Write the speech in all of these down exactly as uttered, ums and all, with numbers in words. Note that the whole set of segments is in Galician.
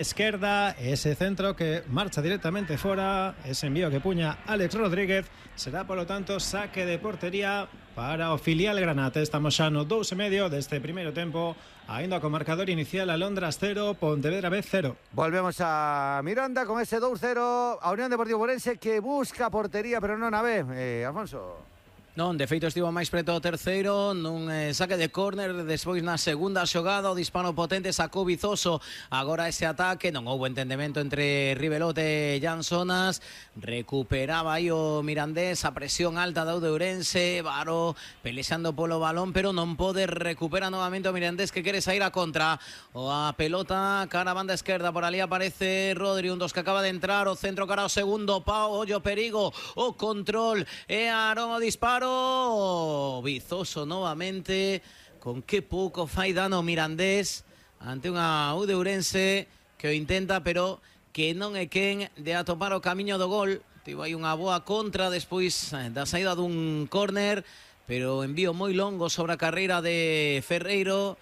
Esquerda, ese centro que marcha directamente fora, ese envío que puña Alex Rodríguez, será polo tanto saque de portería para o filial Granate. Estamos xa no dous e medio deste primeiro tempo, ainda co marcador inicial Alondras cero, Pontevedra B cero. Volvemos a Miranda con ese dous cero, a Unión Deportivo Ourense que busca portería pero non a B, eh, Alfonso. Non, de feito estivo máis preto o terceiro nun eh, saque de córner, despois na segunda xogada o disparo potente sacou Vizoso, agora ese ataque non houbo entendemento entre Rivelote e Jan Sonas, recuperaba aí o Mirandés, a presión alta da Ourense, Varo pelexando polo balón pero non pode, recupera novamente o Mirandés que quere sair a contra, o a pelota cara a banda esquerda, por ali aparece Rodri, un dos que acaba de entrar, o centro cara ao segundo pau, ollo perigo, o control e Aarón o disparo, Vizoso novamente, con que pouco fai dano Mirandés ante unha U de Ourense que o intenta pero que non é quen de atopar o camiño do gol. Tivo aí unha boa contra despois da saída dun córner, pero envío moi longo sobre a carreira de Ferreiro,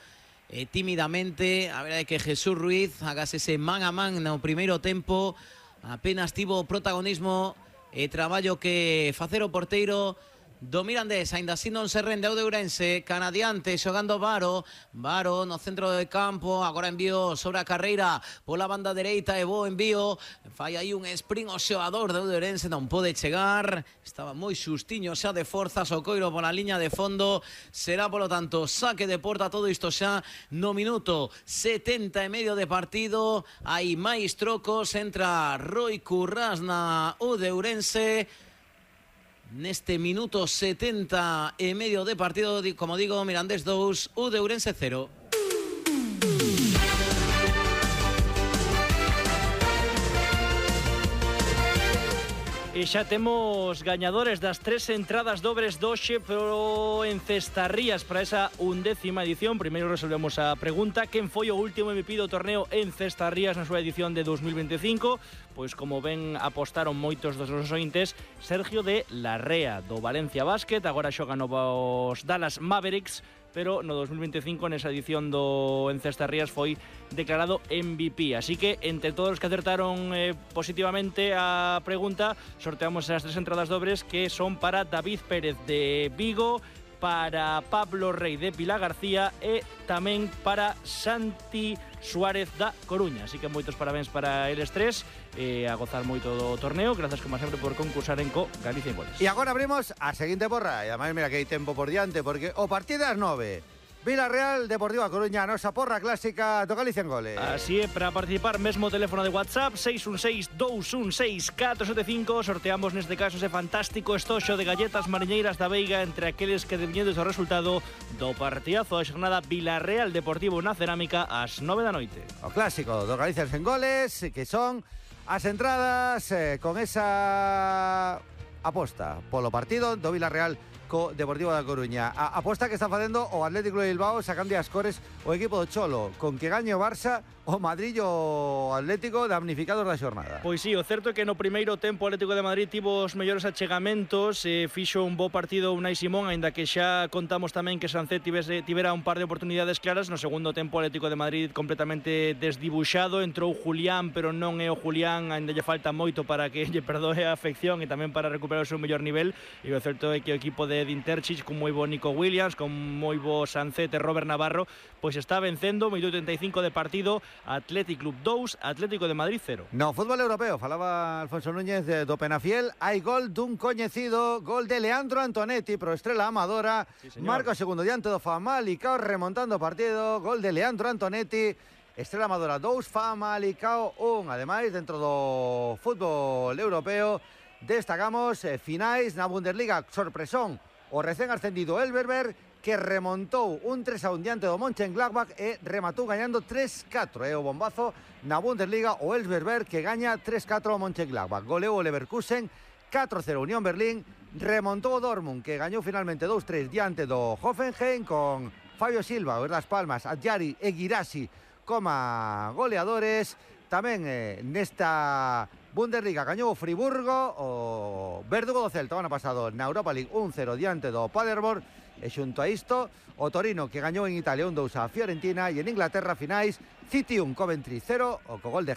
e tímidamente a verdade é que Jesús Ruiz agase ese man a man no primeiro tempo, apenas tivo protagonismo e traballo que facer o porteiro do Mirandés, ainda así non se rende o de Ourense, canadiante xogando Varo, Varo no centro de campo, agora envío sobre a carreira pola banda dereita e bo envío, fai aí un sprint o xogador de Ourense, non pode chegar, estaba moi xustiño xa de forza, Socoiro pola liña de fondo, será polo tanto saque de porta, todo isto xa no minuto setenta e medio de partido, hai máis trocos, entra Roi Currás na U de Ourense, neste minuto setenta e medio de partido, como digo, Mirandés dous, U de Ourense cero. E xa temos gañadores das tres entradas dobres doxe pro en Cestarrías para esa undécima edición. Primeiro resolvemos a pregunta: quen foi o último M V P do torneo en Cestarrías na súa edición de dos mil veinticinco? Pois como ven apostaron moitos dos nosos ointes, Sergio de Larrea, do Valencia Basket, agora xoga novos Dallas Mavericks, pero no dos mil veinticinco nesa edición do en Cestarrías foi declarado M V P. Así que entre todos os que acertaron eh, positivamente a pregunta, sorteamos as tres entradas dobres que son para David Pérez de Vigo, para Pablo Rey de Pilar García e tamén para Santi Suárez da Coruña. Así que moitos parabéns para eles tres, e a gozar moito do torneo. Grazas como sempre por concursar en Co Galicia en Goles. E agora abrimos a seguinte porra, e ademais mira que hai tempo por diante, porque o partido das nove, Villarreal Deportivo a Coruña, a nosa porra clásica do Galicia en Goles. Así é, para participar mesmo teléfono de WhatsApp seis un seis, dous un seis, catro sete cinco. Sorteamos neste caso ese fantástico estoxo de galletas mariñeiras da Veiga entre aqueles que deviñedes o resultado do partidazo da xornada Villarreal Deportivo na Cerámica ás nove da noite. O clásico do Galicia en Goles, que son as entradas eh, con esa aposta polo partido do Villarreal co Deportivo da Coruña. A aposta que está facendo o Atlético de Bilbao sacando as cores o equipo do Cholo, con que gañe o Barça, o Madrid e o Atlético damnificados da xornada. Pois sí, o certo é que no primeiro tempo o Atlético de Madrid tivo os mellores achegamentos, e fixo un bo partido Unai Simón, aínda que xa contamos tamén que Sancet tivese, tivera un par de oportunidades claras. No segundo tempo o Atlético de Madrid completamente desdibuxado, entrou Julián, pero non é o Julián, aínda lle falta moito para que lle perdoe a afección e tamén para recuperar o seu mellor nivel, e o certo é que o equipo de Dinterchich, con moi bo Nico Williams, con moi bo Sancet e Robert Navarro, pois está vencendo, minuto treinta e cinco de partido, Athletic Club dous, Atlético de Madrid cero. No fútbol europeo, falaba Alfonso Núñez de, do Penafiel, hai gol dun coñecido, gol de Leandro Antonetti pro Estrela Amadora, sí, marca o segundo diante do Famalicao remontando o partido, gol de Leandro Antonetti, Estrela Amadora dous, Famalicao un. Ademais, dentro do fútbol europeo, destacamos eh, finais na Bundesliga, sorpresón, o recén ascendido Elverberg, que remontou un tres a un diante do Mönchengladbach e rematou gañando tres catro. É o bombazo na Bundesliga, o Elverberg que gaña tres catro ao Mönchengladbach. Goleou o Leverkusen catro cero Unión Berlín, remontou o Dortmund que gañou finalmente dous tres diante do Hoffenheim, con Fabio Silva, o das Palmas, Adjari e Guirassi como goleadores. Tamén eh, nesta Bundesliga gañou o Friburgo, o Verdugo do Celta o ano pasado na Europa League un cero diante do Paderborn, E xunto a isto, o Torino que gañou en Italia un dous a Fiorentina e en Inglaterra finais City un Coventry cero o co gol de